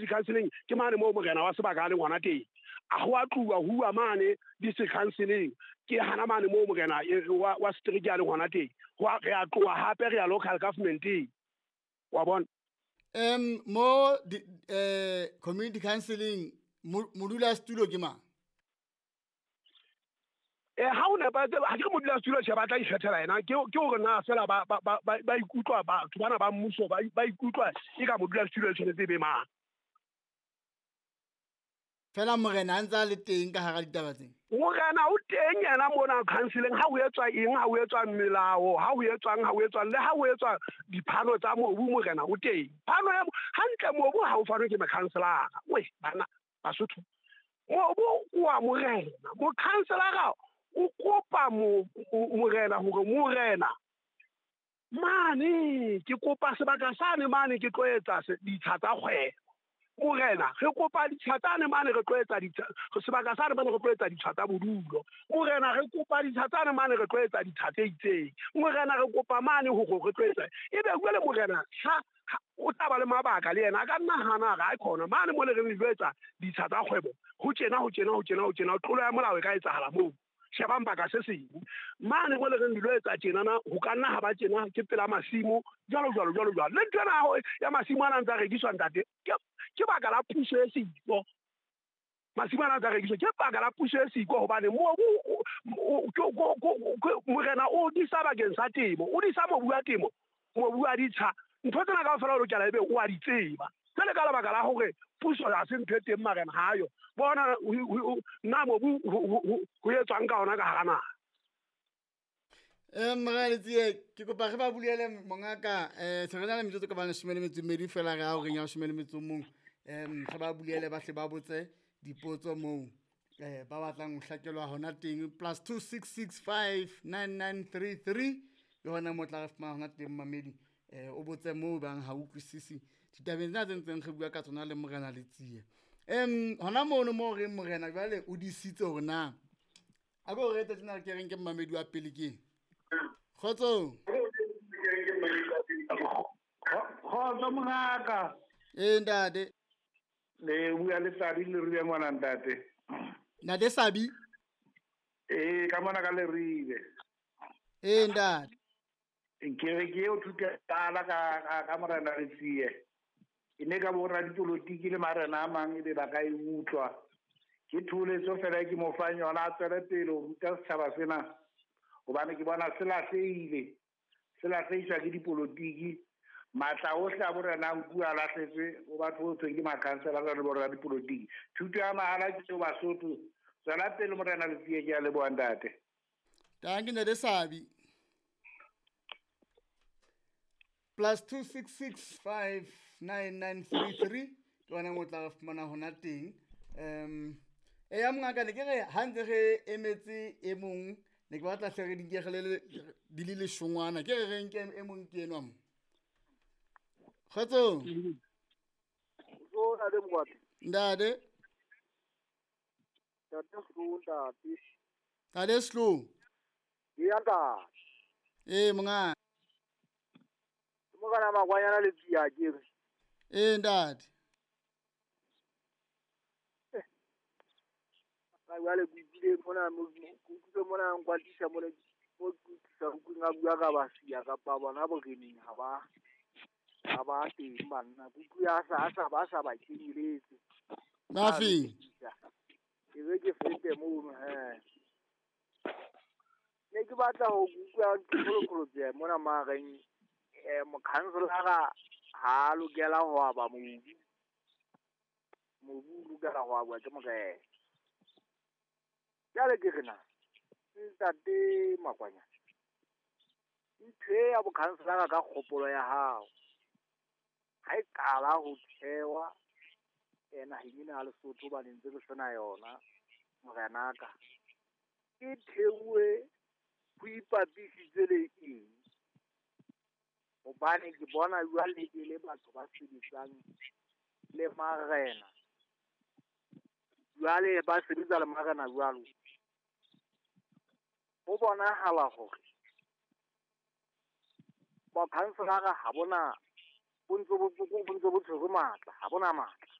Community counseling ke mane moo morena wa sebaka a leng hona teng. A ho a tluwa huwa mane district counseling ke hana mane moo morena wa setereke a leng hona teng. Re a tloha hape re ya local governmenteng. Wa bona? Mo community counseling modula setulo ke mang? Ha o nepahetse ha ke re modula setulo tjhe ba tla ikgethela yena ke hore na fela ba ikutlwa batho bana ba mmuso ba ikutlwa e ka modula setulo e tshwanetse e be mang. Fela morena a ntse a le teng ka hara ditaba tsena. Morena o teng yena mona counseling ha ho etswa eng, ha ho etswa melao, ha ho etswang, le ha ho etswa diphano tsa mobu morena o teng. Phano ya hantle mobu ha o fanwe ke mokhanselara. We bana Basotho. Mobu wa morena. Mokhanselara o kopa morena hore morena mane ke kopa sebaka sane mane ke tlo etsa ditsha tsa kgwebo. Morena re kopa ditsha tsane mane re tlo etsa ditsha sebaka sane mane re tlo etsa ditsha tsa bodulo. Morena re kopa ditsha tsane mane re tlo etsa ditsha tse itseng. Morena re kopa mane hore re tlo etsa. Ebe jwale morena ha o tla ba le mabaka le yena a ka nna hana re a khona mane mo le reng le tlo etsa ditsha tsa kgwebo ho tjena ho tjena ho tjena ho tjena tlolo ya molao e ka etsahala moo. Shebang baka se seng mane mo le reng dilo etsa tjenana ho ka nna ha ba tjena ke pela masimo jwalo jwalo jwalo jwalo. Le ntho ena ya masimo ana ntsa rekiswa ntate ke baka la puso e siko. Masimo ana ntsa rekiswa ke baka la puso e siko hobane mobu morena o disa bakeng sa temo, o disa mobu wa temo, mobu wa ditsha. Ntho tsena kaofela o lokela ebe o a di tseba. Jwale ka lebaka la hore puso ha se ntho e teng marena ha yo. Bona nna mobu ho etswang ka ona ka hara naha. Morena Letsie ke kopa re ba bulele mongaka se re na le metsotso ka bana 12 fela re a horeng ya 11. Re ba bulele ba hle ba botse dipotso moo ba batlang ho hlakelwa hona teng +2665 9933 le hona mo tla re fumana hona teng mamedi o botse moo bang ha utlwisisi ditabeng tsena tse ntseng re bua ka tsona le morena Letsie. Hona mono mo reng morena jwale o disitse hore na a go rete tsena ke reng ke mamedi wa pele ke kgotso. Kgotso mongaka. Ntate le bua le Sabi le rile ngwana ntate. Ntate Sabi? Ka mona ka le rile. Ntate. Ke re ke o thuta tala ka morena Letsie. E ne ka bona dipolotiki le marena a mang ebe ba ka e utlwa. Ke tholetso fela ke mo fang yona a tswele pele ho ruta setjhaba sena. Hobane ke bona se lahlehile. Se lahlehiswa ke dipolotiki. Matla ohle a borena a nkuwa a lahletswe ho batho ho thweng ke makhanselara le borena dipolotiki. Thuto ya mahala ke eo Basotho. Tswela pele morena Letsie ke a leboha ntate. Tanki ntate Sabi. +2665 9933 ke ona mo tla re fumana hona teng. Ya mongaka ne ke re ha ntse re emetse e mong ne ke batla hle re dinkegele di le leshongwana ke re re nke e mong ke enwa mo. Kgotso. Ntate Mokwatla. Ntate. Ntate Slo, ntate. Ntate Slo. Ya ntate. Monga. Morena Makwanyana Letsie a ke re. Ntate. Ka jwale ke utlwile mona ke utlwile mona nkwatisa mona mo ke utlwisa utlweng a bua ka basia kapa bona boreneng ha ba teng banna. Ke utlwe a sa ba kenyeletse. Mafeng. Ke be ke fete mono he. Ne ke batla ho utlwa kgolokgolo tse mona mareng mokhanselara ha lokela ho aba mobu. Mobu o lokela ho abwa ke morena. Jwale ke re na ntate Makwanyana ntho e ya bokhanselara ka kgopolo ya hao ha e qala ho thewa naheng ena ya Lesotho hobane ntse re sena yona morenaka e theuwe ho ipapisitse le eng? Hobane ke bona jwale e le batho ba sebetsang le marena. Jwale ba sebetsa le marena jwalo. Ho bonahala hore bokhanselara ha bona bo ntse bo tshwere matla, ha bona matla.